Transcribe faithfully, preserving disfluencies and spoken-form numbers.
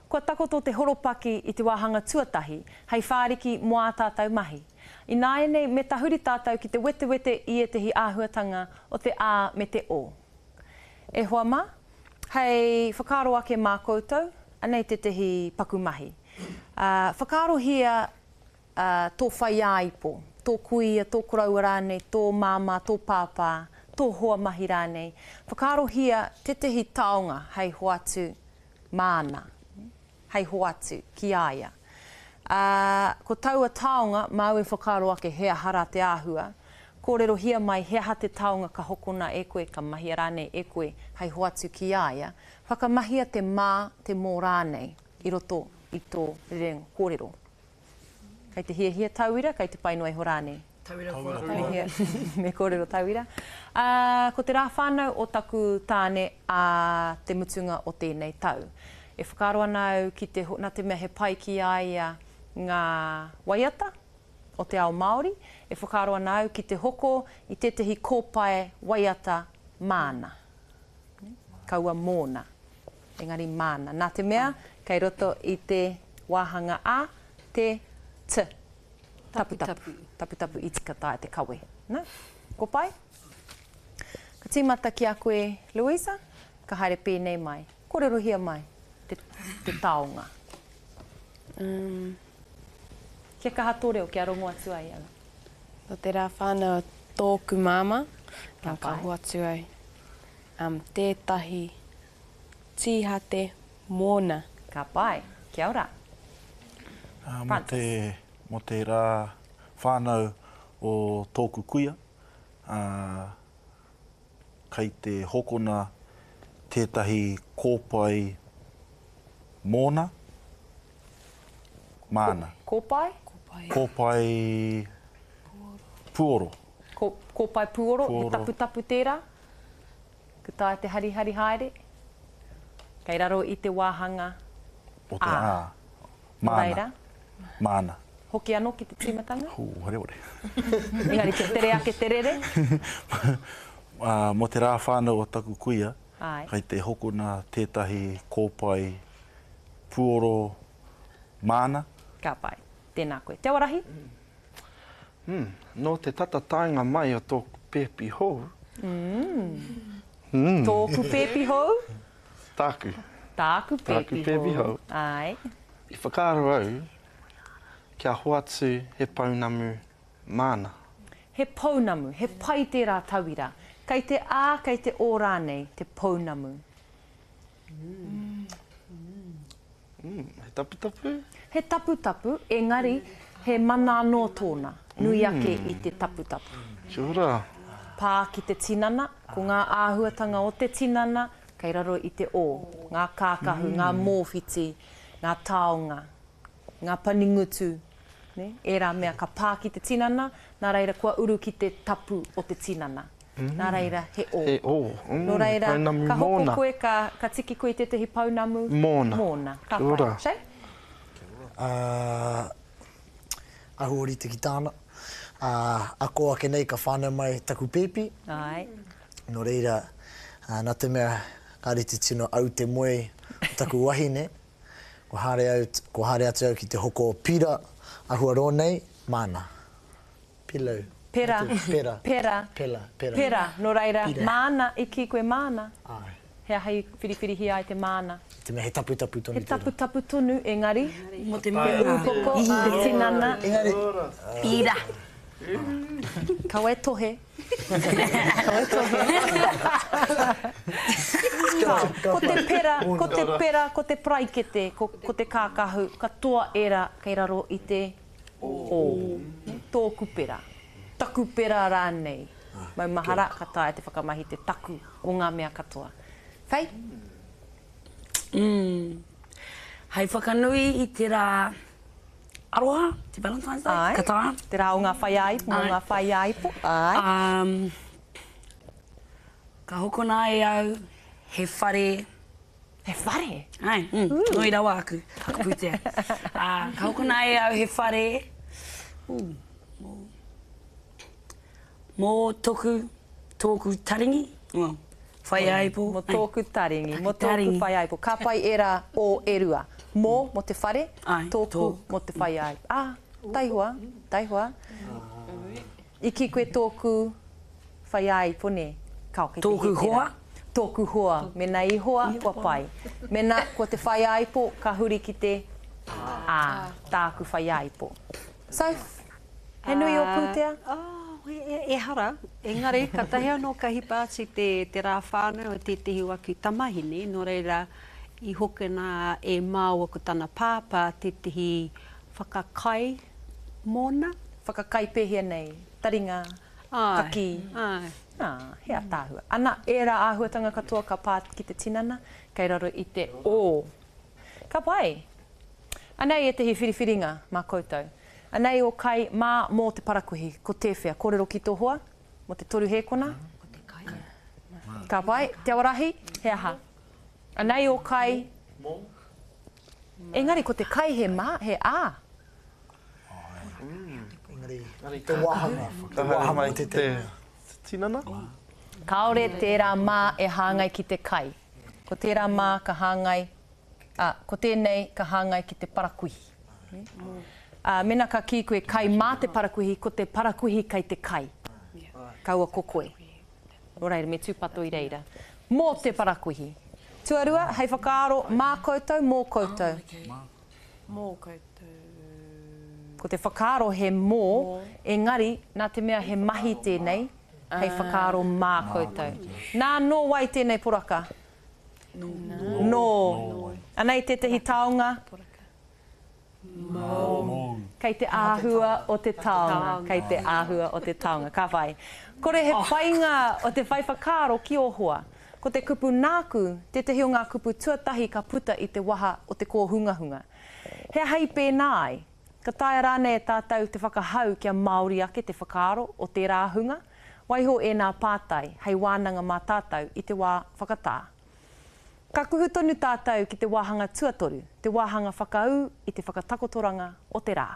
Kua takoto te horopaki i te wāhanga tuatahi hei whāriki mō ā tātou mahi. Ināianei me tahuri tātou ki te wetewete i ētehi āhuatanga o te A me te O. E hoa mā, hei whakaaro ake mā koutou, anei tētehi paku mahi. Ā, whakaarohia tō whaiāipo, tō kuia, tō koroua rānei, tō māmā, tō pāpā, tō hoa mahi rānei. Whakaarohia tētehi taonga hei hoatu māna, hei hoatu ki a ia. Ā, ko taua taonga, māu e whakaaro ake he aha rā te āhua, kōrerohia mai he aha te taonga ka hokona e koe, ka mahia rānei e koe hei hoatu ki a ia, whakamahia te mā, te mō rānei i roto i tō rerenga kōrero. Kei te hiahia tauira, kei te pai noa iho rānei? Tauira kōrero. Me kōrero tauira. Ā, ko te rā whānau o taku tāne ā te mutunga o tēnei tau. E whakaaro ana au ki te, nā te mea he pai ki a ia ngā waiata o te ao Māori, e whakaaro ana au ki te hoko i tētehi kōpae waiata māna. Kaua mōna, engari māna. Nā te mea, kei roto i te wāhanga A, te T, taputapu, taputapu iti ka taea te kawe. Na, ko pai? Ka tīmata ki a koe, Louisa, ka haere pēnei mai. Kōrerohia mai te, te taonga. Um. Kia kaha tō reo, kia rongo atu ai au. Nō te rā whānau o tōku māmā, nā ka hoatu au um, tētahi tīhate mōna. Ka pai. Kia ora. Uh, mō te, mō te rā whānau o tōku kuia, uh, kei te hokona tētahi kōpae mōna, māna. Kōpae? Kōpae puoro. Ko, kōpae puoro, he taputapu tērā? Ka taea te harihari haere? Kei raro i te wāhanga O te A. Māna. Māna. Hoki anō ki te tīmatanga? Hū, wareware. Engari kia tere ake te rere? Mō te rā whānau o taku kuia, kei te hokona tētahi kōpae puoro māna. Ka pai. Tēnā koe. Te Awarahi? Mm, nō te tata taenga mai o tōku pēpi hou. Mm. Mm. Tōku pēpi hou? Tāku. Tāku pēpi hou. Tāku pēpi hou. Āe. I whakaaro au kia hoatu he pounamu māna. He pounamu, he pai tērā tauira. Kei te A, kei te O rānei te pounamu. Mm. Mm, he taputapu? He taputapu, engari he mana anō tōna, nui ake i te taputapu. Kia ora. Pā ki te tinana, ko ngā āhuatanga o te tinana kei raro i te O, ngā kākahu, ngā mōwhiti, ngā taonga, ngā paningutu, nē, ērā mea ka pā ki te tinana, nā reira kua uru ki te tapu o te tinana. Nā reira, he O. He O, mm, Nō reira, pounamu ka hoko mōna. koe, ka, ka tiki koe i tētahi pounamu Mōna. mōna. Ka Kia pai. ora. Shay? Ā, ahu ōrite ki tāna. Ā, ako ake nei ka whānau mai taku pēpi. Āe. Nō reira, ā, nā te mea kāre te tino au te moe o taku wahine, kua haere au, kua haere atu au ki te hoko pira ahuarō nei, māna. Pillow. Pera. Pera. Pera. Pela. Pera. Pera. Nō reira, Pira. māna, i kī koe māna. Āe. He aha i whiriwhirihia ai te māna? Te mea he taputapu tonu He tērā. taputapu tonu, engari, Mō te te māna. ūpoko, te tinana. Engari. Pira. Kaua e tohe. Kaua e tohe. Ko te pera, ko te pera, ko te paraikete, ko, ko te kākahu, katoa ērā kei raro i te O. Tōku pera. Taku pera rānei. Maumahara, ka taea te whakamahi te taku o ngā mea katoa. Faye? Mm. Hei whakanui i te rā aroha, te Valentine's Day, Āe. ka taea? Te rā o ngā whaiāipo, mō ngā whaiāipo, āe. Um, ka hokona e au he whare. He whare? Āe, mm, nui rawa aku, aku pūtea. Ā, ka hokona e au he whare, ū, mō, mō toku, tōku taringi, well, whaiāipo. Mō tōku taringi, mō tōku whaiāipo. Ka pai ērā o e rua, Mō, mō te whare, Āe, tōku, tōku. mō te whaiāipo. Ā, taihoa, taihoa. I kī koe tōku whaiāipo, nē? Kao, kei te Tōku hē tērā. hoa? Tōku hoa. Mēnā i hoa, kua pai. Mēnā ko te whaiāipo, ka huri ki te ā, tāku whaiāipo. Soph, he nui ō pūtea? Oh, e, e, ehara. Engari, katahi anō ka hipa atu te, te rā whānau o tētehi o aku tamahine, nō reira i hokona e māua ko tana pāpā tētehi whakakai mōna. Whakakai pēhea nei? Taringa, Āe, kakī? āe. Ā, he ātaahua. Ana, ērā āhuatanga katoa ka pā ki te tinana, kei raro i te ō. Ka pai. Anei ētehi whiriwhiringa mā koutou. Anei ō kai mā mō te parakuihi. Ko tēwhea? Kōrero ki tō hoa mō te toru hēkona? Ko te kai. Ka pai. Te Awarahi, he aha? Anei ō kai. Mō. Engari ko te kai he mā, he ā. Engari, te wāhanga, te Ka haere wāhanga mai o te te tinana? Kāore tērā mā e hāngai ki te kai. Ko tērā mā ka hāngai, ā, ko tēnei ka hāngai ki te parakuihi. Ā, mēnā ka kī koe kai mā te parakuihi, ko te parakuihi kei te kai. Kaua ko koe. Nō reira, me tūpato i reira. Mō te parakuihi. Tuarua, hei whakaaro mā koutou, mō koutou. Mō koutou. Ko te whakaaro he mō, engari, nā te mea he mahi tēnei, hei whakaaro mā koutou. Nā, nō wai tēnei poraka? Nō. Nō. Anei tētehi taonga. Mōu. Kei te āhua o te taonga. Kei te āhua o te taonga. Ka whai. Kore he painga o te whai whakaaro ki ō hoa. Ko te kupu nāku tētehi o ngā kupu tuatahi ka puta i te waha o te kōhungahunga. He aha i pēnā ai? Ka taea rānei e tātou te whakahau kia Māori ake te whakaaro o tērā hunga? Waiho ēnā pātai hei wānanga mā tātou i te wā whakatā. Ka kuhu tonu tātou ki te wāhanga tuatoru, te wāhanga whakaū i te whakatakotoranga o te rā.